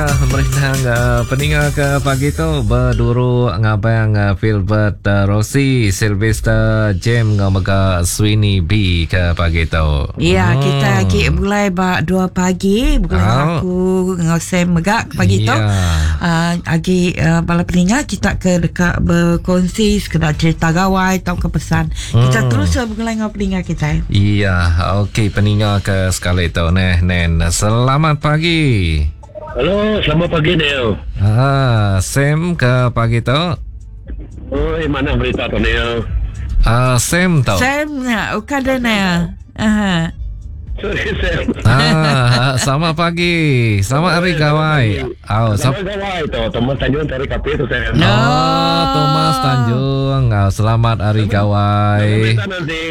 Ya, merindang uh, peninga ke pagi tu berduru ngabang uh, Philbert uh, Rossi, Sylvester James ngau mega Sweeney B ke pagi tu. Ya, hmm. kita lagi mulai ba 2 pagi, bukan oh. aku ngau Sam mega ke pagi ya. tu. Uh, agi uh, bala peninga kita ke dekat berkongsi sekedar cerita gawai atau ke pesan. Hmm. Kita terus uh, bergulai ngau peninga kita. Iya, okey peninga ke sekali tu neh nen. Selamat pagi. Halo, selamat pagi Neil. Ah, Sam ke pagi tu. Oi, mana berita tu Neil? Ah, Sam tu. Sam nya, bukan dia Neil. Aha. Sorry Sam. Ah, selamat pagi. Selamat hari gawai. Oh, selamat gawai tu. Thomas Tanjung dari Kapit tu Sam. No. Oh, Thomas Tanjung. Oh, selamat hari gawai. Berita nanti.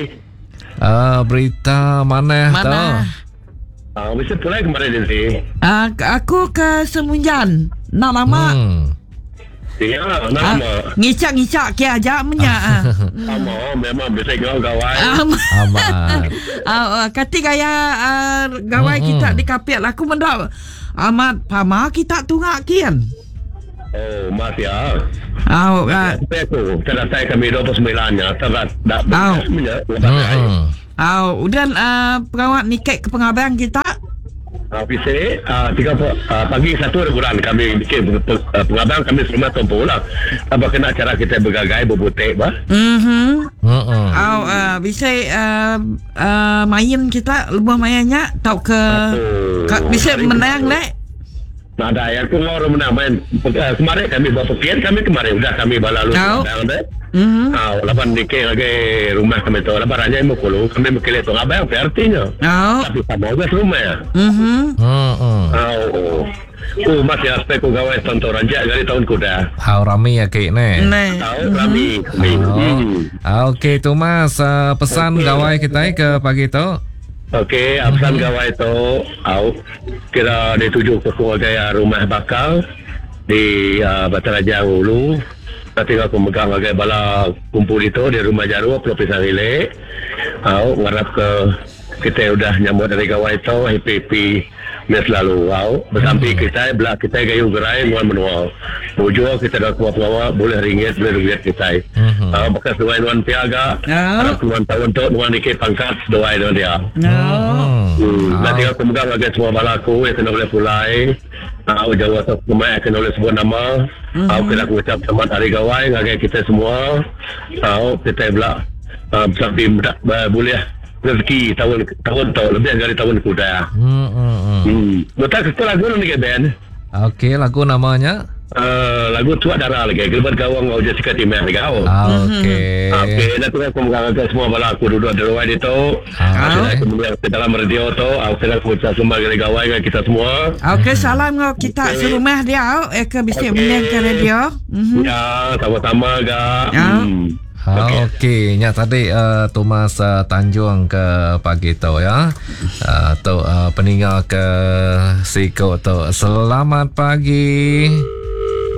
Ah, berita mana tu? Mana? Ah, mesti pulai kemarin nanti. Uh, aku ke Semunjan. Nak lama. Hmm. Ya, nak Ah, lama. ngicak-ngicak ke aja menya. Ah. Sama, memang bisa kau gawai. Ah, Amat. Ah, kati gaya uh, gawai Mm-mm. kita di kapit lah. aku mendak amat pama kita tungak kian. Oh, mas ya. Ah, uh, Tapi aku, selesai kami 29 nya, terat dak Au. punya. Hmm. ah, udah uh, pengawat nikek ke pengabang kita. Ah, PC, ah, tiga ah, pagi satu hari bulan kami bikin pengabang kami serumah tompo lah. Apa kena cara kita bergagai berbutik bah? Mhm. Hmm. Ah, uh, bisa uh, uh, main kita lebih mainnya tau ke, ke bisa menang lek. Nada yang aku ngor menang main. Eh, Kemarin kami buat pekian kami kemarin udah kami balalu Au. pengabang deh. Mhm. Ah, lapan dikit lagi rumah kami tu. Lapan ranya imu kulu kami mekele tu abang PRT-nya. Oh. Tapi sama juga serumah ya. Mhm. Hmm. Ah, oh. Oh, masih aspek ku gawai tonton ranjak dari tahun kuda. Hau rami ya kek ne. Nah. Tahu rami kami. Oh. Hmm. Ah, Okey tu mas uh, pesan Okey. gawai kita ke pagi tu. Okey, pesan gawai tu au kira dituju ke keluarga rumah bakal di uh, Bataraja Ulu. Nanti aku megang lagi bala kumpul itu di rumah Jaru Pulau Pisang Hilik. Au ngarap ke kita udah nyambut dari gawai tu happy happy ni selalu au bersampi kita belak kita gayu gerai muan menua. Bujur kita dah keluar pengawa boleh ringgit boleh duit kita. Mhm. Au bekas duai nuan piaga. Au. Harap nuan tahun tu nuan dikit pangkat doai dengan dia. No. Hmm. Hmm. Nanti aku megang lagi semua bala aku yang kena boleh pulai. Aku jauh atau kemai kena boleh sebut nama. Aku kena aku ucap selamat hari gawai ngagai kita semua. Aku kita belak uh, sampai boleh rezeki tahun tahun tu lebih dari tahun kuda. Hmm. hmm, hmm. Hmm. Betul kita lagu ni ke band. Okey lagu namanya. Uh, lagu Tua Darah lagi. Gilbert Gawang ngau Jessica Timeh lagi. Oh. Ah, Okey. Okey, nanti aku mengarahkan semua bala aku duduk di rumah itu. Ah, Aku kemudian ke dalam radio tu, aku kena aku semua gawai gawai dengan kita semua. Okey, salam ngau kita Okey. serumah dia au eh ke bisa Okey. menang ke radio. Mhm. Ya, sama-sama gak. Ya. Hmm. Okey, okay. nya tadi uh, Thomas uh, Tanjung ke pagi tu ya. Uh, tu uh, peninga ke Siko tu. Selamat pagi.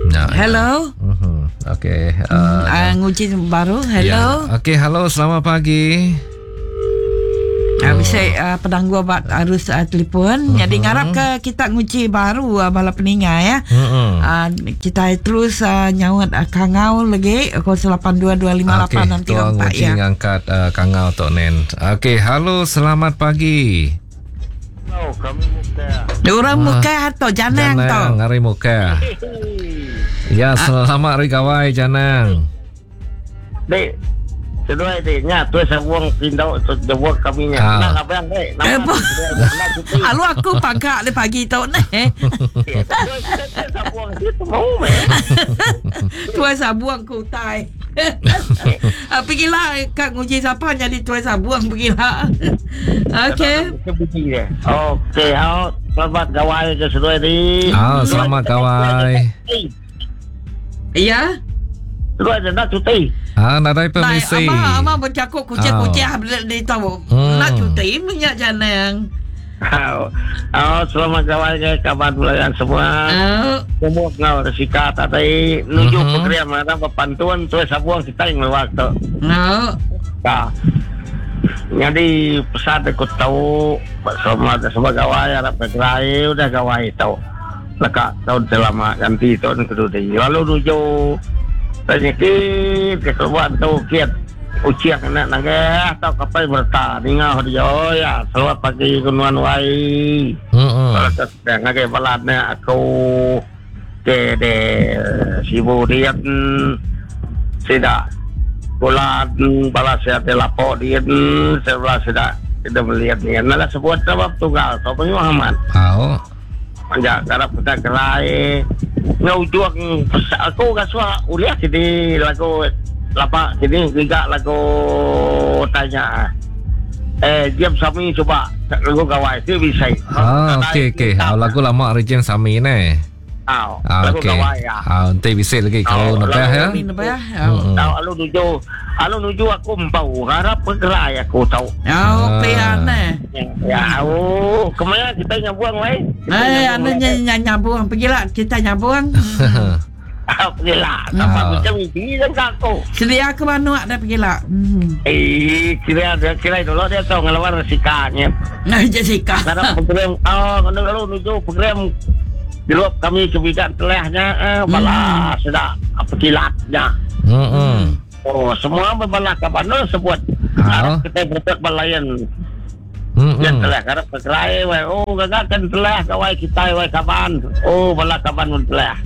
Ya. Hello. Mhm. Okey. Uh, Uh, nguji baru. Hello. Ya. Okey, halo, selamat pagi. Uh, bisa uh, pedanggu buat arus uh, telefon. Jadi ngarap ke kita nguji baru uh, bala peninga ya. Mhm. Uh, kita terus uh, nyaut uh, kangau lagi 08225863 tuang nguji ya. ngangkat uh, kangau tok nen. Okey, halo, selamat pagi. Orang muka atau janang tau. Janang, hari muka. Ya, selamat hari gawai Janang. Dek, seduai dek, nya tu sabung pindau tu jawab kami nya. Ah. Nak abang dek, Eh, nama apa? nak cuti. Alu aku pagak le pagi tu ni. Sabung itu mau meh. Tuai sabuang ke utai. Ah, pergilah kat nguji siapa jadi tuai sabuang pergilah. Okey. Okey, hao, selamat gawai ke seduai ni. Ah, selamat gawai. Ya. Seduai dia nak cuti. Ah, nadai permisi. Abang, abang bercakap kucing-kucing ah. di tahu. Hmm. Nak cuti minyak janang. Hao, hao, selamat gawai ke kawan pelayan semua. Oh. Semua ngau resika tadi nuju Mhm. program ada pantun tuai sabuang kita yang lewat tu. Oh. Tak. Jadi pesan aku tahu sama semua gawai harap ke gerai udah gawai tahu. Leka taun ti lama ganti taun ke dudi lalu nuju penyakit ke keluar tu kit uching enda nagih tauka apai bereta ninga dia ya selamat pagi ku nuan wai. Heeh. Ngagai bala anak aku ke de Sibu dian sida bulan bala sida ti lapo dian bala sida ti melian dian enda sebut sebab tunggal tu mayuh amat. Au. Manja ngarap kita gerai enggau ujung aku ngasuh ulih sidi lagu lama sidi ngiga lagu tanya eh James Sami suba lagu gawai ti bisi. Ah okey okey. Lagu lama ari James Sami neh. Ah, lagu okey. gawai ya. Ah, enti bisi lagi kau nebah ya. Tau alu nuju alu nuju aku empau harap gerai aku tau. Oh, pia ne. Ya, oh, kemaya kita nyabung wai? Eh, anu nyabung pergilah kita nyabung. Ah, pergilah. Sampai macam ini kan aku. Sedia ke manuk dah pergilah. Eh, kira kira dulu dia tahu ngelawan Jessica-nya. Nah, Jessica. Karena program oh, lalu nuju program Dilup kami ke bidan telahnya eh, bala seda apa kilatnya. Oh, semua berbala ke mana sebut. Harap kita betul balayan. Yang telah harap berkerai wai. Oh, gagak kan telah kawai kita wai kaban. Oh, bala kaban pun telah.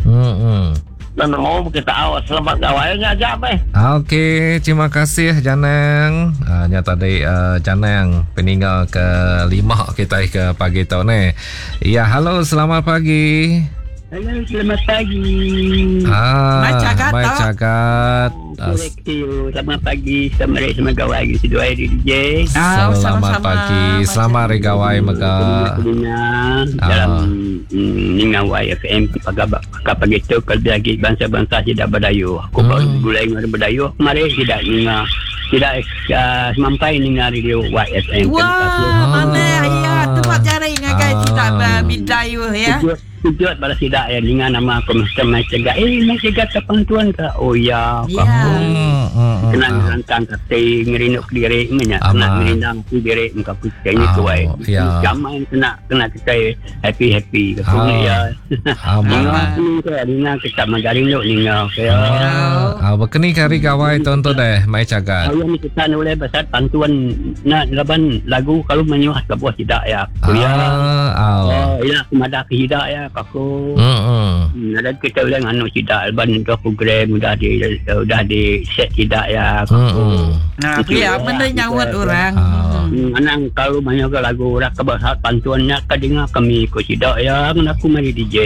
Dan mau kita awak selamat gawainya aja meh. Okey, terima kasih Janang. Nya tadi Janang peninggal ke lima kita ke pagi tu ni. Ya, halo, selamat pagi. Halo, selamat pagi. Ah, Mai cagat mai tok. cagat. Selamat pagi, selamat hari selamat gawai di seduai di DJ. Ah, Selamat sama-sama. pagi, selamat hari gawai mega. Dalam ninga YFM pagi tu kalau lagi bangsa-bangsa tidak berdayu. Aku baru gulai dengan berdayu kemarin tidak ninga tidak semampai ninga radio YFM. Wah, mana ya tempat cari ngagai tidak bidayu ya. Tujuan pada sidak ya dengan nama aku mesti mai cegah. Eh mai cegah ke pantuan ke? Oh ya, Ya. Kena ngerantang kate ngerinuk diri nya kena ngerindang diri muka aku kayaknya Ah, tu ai. ya. Jamai kena kena kita happy happy ke Ah. ya. Aman. Ninga ninga kita magaring duk ninga ya. Ah, berkeni ke hari gawai tuan tu deh, mai cagat. Ayah ni kita boleh pasal pantuan nak laban lagu kalau menyuah ke buah tidak ya. Aku ya. Ah, Oh, ya aku madah ke tidak ya aku. Ada kita boleh nganu tidak leban tu program udah di udah di set tidak ya. Nah, ya benda nyawat orang. Anang kalau banyak ke lagu orang ke bahasa pantuannya ke dengar kami ko tidak ya aku mari DJ.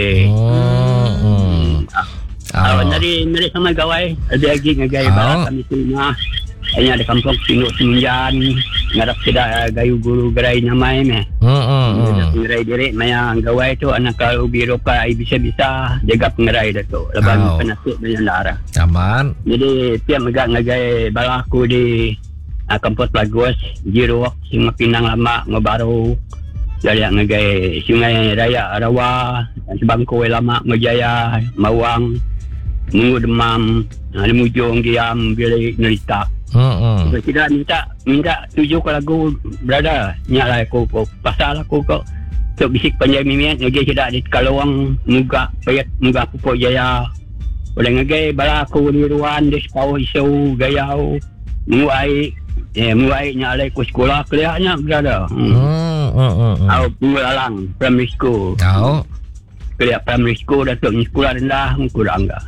Ah, dari dari sama gawai ada lagi ngagai balak kami semua. Hanya ada kampung Sinduk Semenjan ngarap tidak gayu guru gerai nyamai meh. Pengerai diri maya gawai tu anak kalau biro ka bisa-bisa jaga pengerai dah tu. Leban penasib banyak darah. Aman. Jadi tiap megak ngagai bala aku di kampung Lagos, Jirok, Sungai Pinang Lama, Ngobaru. Dari ngagai Sungai Raya Rawa, Sebangkoi Lama, Ngojaya, Mawang, Munggu Demam, Lemujung, Giam, Bilik, Nerita. Tidak minta tuju ke lagu berada. Nyala aku pasal aku kok. Tok bisik panjang mimiat ngagi tidak di Kalawang muga payat muga pupuk jaya. Oleh ngagi bala aku di ruan di sepau isu gayau muai muai nyala aku sekolah keliaknya berada. Au pengulalang primary school. Au. Keliak primary school dah tok sekolah rendah kurang enggak.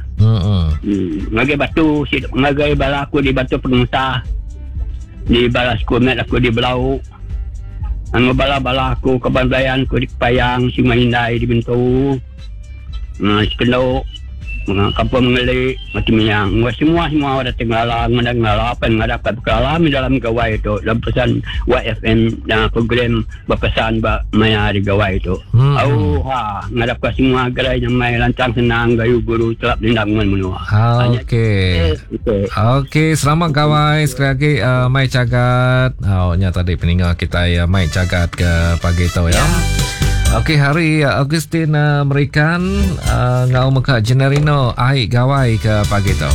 Ngagai batu ngagai bala aku di batu pengusah. Di bala sekolah aku di Belau. Anggo bala-bala aku kaban belayan aku di Payang, Sungai Indai di Bentu. Sekendok, kampung Mengelik, macam yang semua semua ada tinggal ngada ngala apa ngada apa berkala dalam gawai itu dalam pesan YFM dan program berpesan ba maya di gawai itu. Oh ha ngadap ke semua gerai yang mai lancang senang gayu guru telap lindang menua. Okey. Okey, selamat gawai sekali lagi mai cagat. Oh nya tadi peninggal kita ya mai cagat ke pagi tu ya. Okey, hari Augustine Merikan ngau meka Generino ai gawai ke pagi tu.